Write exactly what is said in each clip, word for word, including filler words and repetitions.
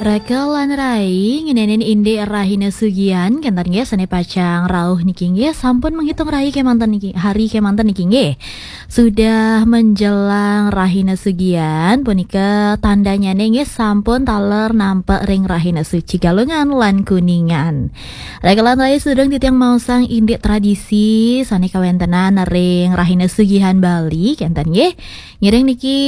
Raka lan rai ngeninin indik rahina sugian, kenten nggih, sane pacang rauh niki nggih, sampun menghitung rai kemanten niki, hari kemanten niki nggih. Sudah menjelang rahina sugian, punika tandanyane nggih sampun taler nampek ring rahina suci Galungan lan Kuningan. Raka lan rai sedurung titiang maosang indik tradisi sane kawentenan ring rahina sugihan Bali, kenten nggih. Ngiring niki,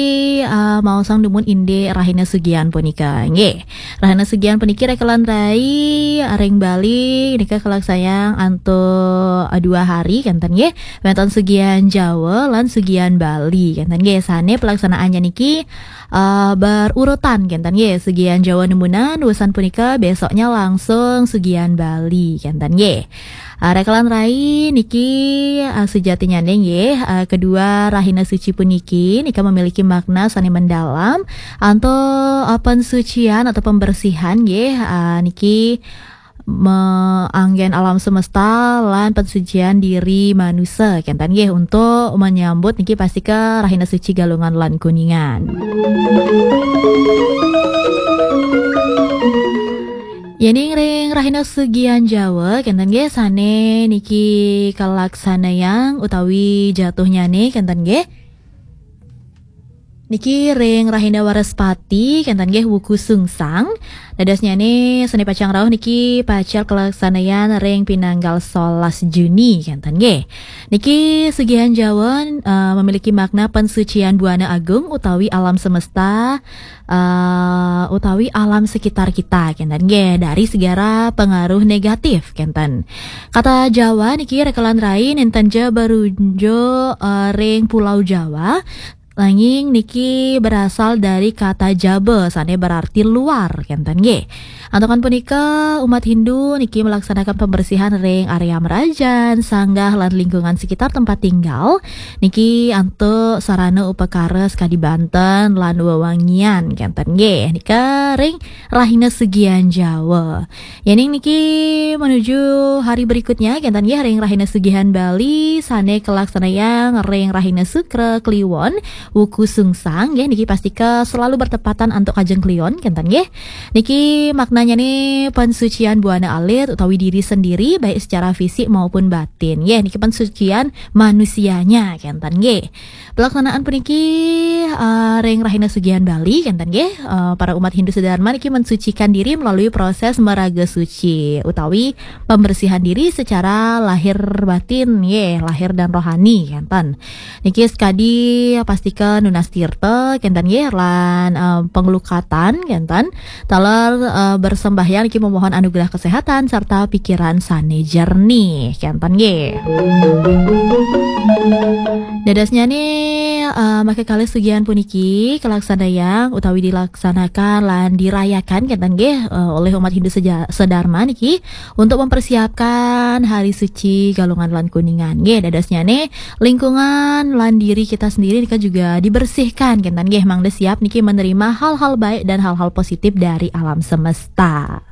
eh, maosang dumun indik rahina sugian punika. Nggih. Rahina sugian puniki raka lan rai ring Bali nika kalaksanayang antuk, eh, dua hari kenten nggih. Wenten sugian Jawa lan sugian Bali kenten nggih. Sane pelaksanaannya niki, eh, berurutan kenten nggih. Sugian Jawa nemunan, wusan punika besoknya langsung sugian Bali kenten nggih. Ah, raka lan rai niki, ah, sejatinyane nggih, ah, kedua rahina suci puniki nika memiliki makna sane mendalam antuk, ah, pensucian atau pembersihan nggih, ah, niki me-, anggen alam semesta lan pensucian diri manusa kenten nggih untuk menyambut niki pastika rahina suci Galungan lan Kuningan. Yening ring rahina sugian Jawa kenten nggih sane niki kalaksanayang utawi jatuhnyane kenten nggih. Niki ring rahina Waraspati kenten nggih wuku sungsang. Dadosnyane sane pacang rauh niki pacang kalaksanayang ring pinanggal solas Juni kenten nggih. Niki sugihan Jawa, eh, memiliki makna pensucian buana agung utawi alam semesta, eh, utawi alam sekitar kita kenten nggih, dari segala pengaruh negatif kenten. Kata Jawa niki raka lan rai nenten ja berunjuk, eh, ring Pulau Jawa, nanging niki berasal dari kata Jaba sane berarti luar kenten nggih. Antukan punika, umat Hindu niki melaksanakan pembersihan ring area merajan, sanggah lan lingkungan sekitar tempat tinggal niki antuk sarana upakara sakadi banten lan wewangian kenten nggih. Nika ring rahina sugian Jawa. Yening niki menuju hari berikutnya kenten nggih, ring rahina sugihan Bali sane kalaksanayang ring rahina Sukra Kliwon wuku sungsang nggih, niki pastika selalu bertepatan antuk kajeng Kliwon kenten nggih. Niki maknanyane pensucian buana alit utawi diri sendiri baik secara fisik maupun batin nggih. Niki pensucian manusianya kenten nggih. Pelaksanaan puniki, eh, ring rahina sugihan Bali kenten nggih, eh, para umat Hindu sedharma niki mensucikan diri melalui proses meraga suci utawi pembersihan diri secara lahir batin nggih, lahir dan rohani kenten. Niki sekadi pastika nunas tirta kenten nggih, lan, eh, penglukatan kenten. Taler, eh, bersembahyang niki memohon anugerah kesehatan serta pikiran sane jernih kenten nggih. Dadosnyane, eh, maka kalih sugihan puniki kalaksanayang utawi dilaksanakan lan dirayakan kenten nggih, eh, oleh umat Hindu seja-, sedharma niki untuk mempersiapkan hari suci Galungan lan Kuningan nggih. Dadosnyane lingkungan lan diri kita sendiri nika juga dibersihkan kenten nggih, mangda siap niki menerima hal-hal baik dan hal-hal positif dari alam semesta.